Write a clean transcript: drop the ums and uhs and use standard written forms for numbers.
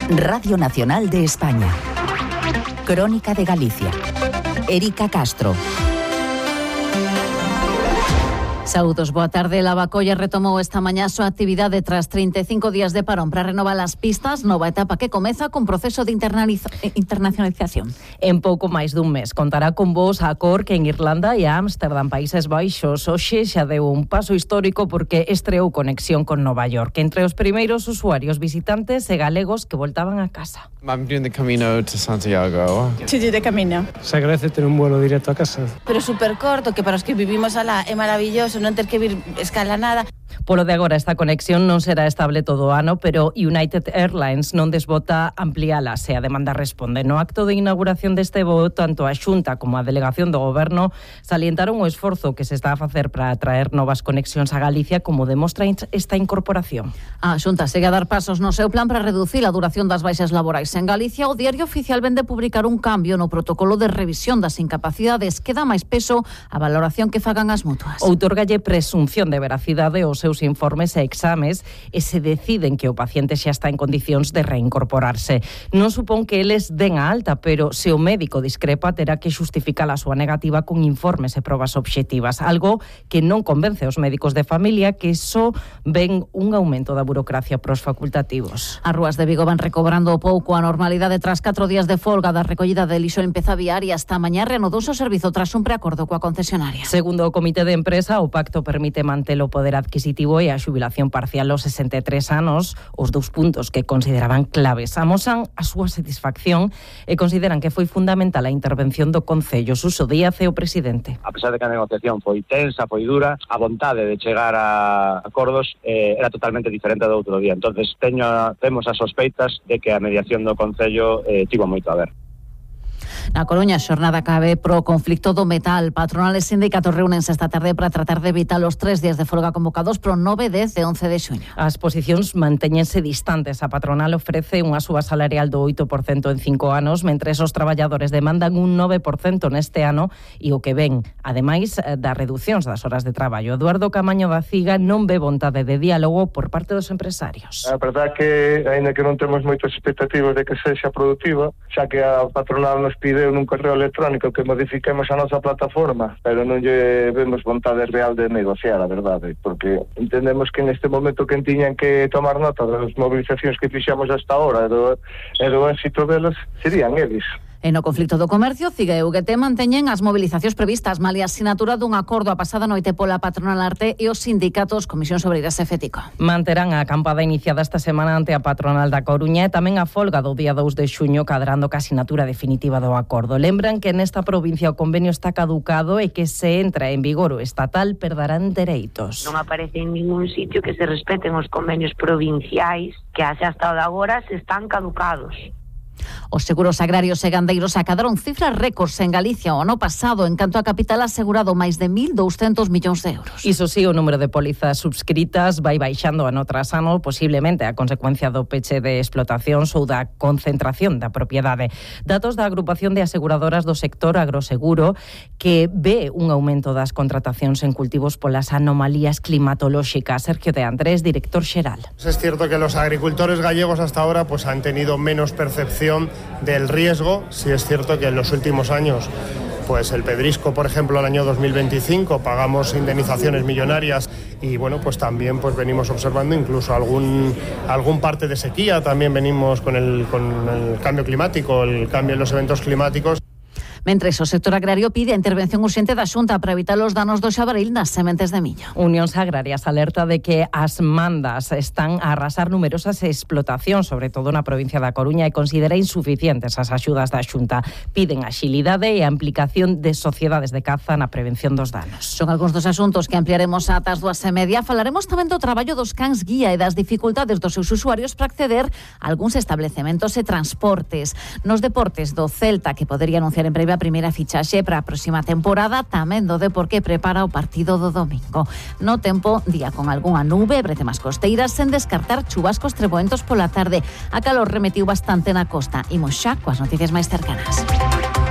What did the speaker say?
Radio Nacional de España. Crónica de Galicia. Erika Castro. Saúdos, boa tarde. Lavacolla retomou esta mañá a súa actividade tras 35 días de parón para renovar as pistas, nova etapa que comeza cun proceso de internacionalización. En pouco máis dun mes contará con voos a Cork en Irlanda e a Ámsterdam, Países Baixos. Hoxe xa deu un paso histórico porque estreou conexión con Nova York entre os primeiros usuarios visitantes e galegos que voltaban a casa. I'm doing the Camino to Santiago. Sí, de camino. Se agradece ter un vuelo directo a casa. Pero super corto, que para os que vivimos alá é maravilloso, non ter que vir escala nada. Polo de agora esta conexión non será estable todo o ano, pero United Airlines non desbota ampliala se a demanda responde. No acto de inauguración deste voo, tanto a Xunta como a delegación do Goberno salientaron o esforzo que se está a facer para atraer novas conexións a Galicia, como demostra esta incorporación. A Xunta segue a dar pasos no seu plan para reducir a duración das baixas laborais en Galicia. O Diario Oficial vende publicar un cambio no protocolo de revisión das incapacidades que dá máis peso á valoración que fagan as mutuas. Outorgalle presunción de veracidade aos seus informes e exames e se deciden que o paciente xa está en condicións de reincorporarse. Non supón que eles den a alta, pero se o médico discrepa terá que justificar a súa negativa con informes e probas obxectivas, algo que non convence aos médicos de familia, que só ven un aumento da burocracia pros facultativos. As rúas de Vigo van recobrando pouco a normalidade tras 4 días de folga da recollida de lixo e limpeza viaria. Esta mañá reanudouse o servizo tras un preacordo coa concesionaria. Segundo o Comité de Empresa, o pacto permite manter o poder adquisitivo e a xubilación parcial aos 63 anos, os dous puntos que consideraban claves. Amosan a súa satisfacción e consideran que foi fundamental a intervención do Concello. Suso Díaz é o presidente. A pesar de que a negociación foi tensa, foi dura, a vontade de chegar a acordos era totalmente diferente do outro día. Entonces temos as sospeitas de que a mediación do Concello tivo moito a ver. Na Coruña, a xornada cabe pro conflicto do metal. Patronales e sindicatos reúnense esta tarde para tratar de evitar os 3 días de folga convocados pro 9, 10 e 11 de xuño. As posicións mantéñense distantes. A patronal ofrece unha suba salarial do 8% en 5 anos, mentres os traballadores demandan un 9% neste ano e o que ven, ademais das reducións das horas de traballo. Eduardo Camaño da Ciga non ve vontade de diálogo por parte dos empresarios. A verdade que, aínda que non temos moitas expectativas de que sexa productiva, xa que a patronal nos pide nun correo electrónico que modifiquemos a nosa plataforma, pero non lle vemos vontade real de negociar, a verdade, porque entendemos que neste momento que tiñan que tomar nota das movilizacións que fixamos hasta ahora e do éxito delas serían eles. E no conflicto do comercio, Ciga e UGT manteñen as mobilizacións previstas, malia a sinatura dun acordo a pasada noite pola patronal Arte e os sindicatos Comisión Obreiras e FETICO. Manterán a acampada iniciada esta semana ante a patronal da Coruña e tamén a folga do día 2 de xuño, cadrando ca sinatura definitiva do acordo. Lembran que nesta provincia o convenio está caducado e que se entra en vigor o estatal perderán dereitos. Non aparece en ningún sitio que se respeten os convenios provinciais que hasta agora se están caducados. Os seguros agrarios e gandeiros acadaron cifras récords en Galicia o ano pasado, en canto a capital asegurado máis de 1.200 millóns de euros. Iso sí, o número de pólizas subscritas vai baixando ano tras ano, posiblemente a consecuencia do peche de explotacións ou da concentración da propiedade. Datos da agrupación de aseguradoras do sector agroseguro, que ve un aumento das contratacións en cultivos polas anomalías climatolóxicas. Sergio de Andrés, director xeral. Es cierto que los agricultores gallegos hasta ahora pues han tenido menos percepción del riesgo. Sí es cierto que en los últimos años, pues el pedrisco, por ejemplo, el año 2025 pagamos indemnizaciones millonarias y bueno, pues también pues venimos observando incluso algún parte de sequía, también venimos con el cambio climático, el cambio en los eventos climáticos. Mentres, o sector agrario pide a intervención urxente da Xunta para evitar os danos do xabaril nas sementes de millo. Unións Agrarias alerta de que as mandas están a arrasar numerosas explotacións, sobre todo na provincia da Coruña, e considera insuficientes as axudas da Xunta. Piden axilidade e a implicación de sociedades de caza na prevención dos danos. Son algúns dos asuntos que ampliaremos ata as 2:30. Falaremos tamén do traballo dos cans guía e das dificultades dos seus usuarios para acceder a algúns establecementos e transportes. Nos deportes do Celta, que podería anunciar en breve a primeira fichaxe para a próxima temporada, tamén do Depor, que prepara o partido do domingo. No tempo, día con algunha nube, bretemas costeiras, sen descartar chubascos treboentos pola tarde. A calor remetiu bastante na costa. Imos xa coas noticias máis cercanas.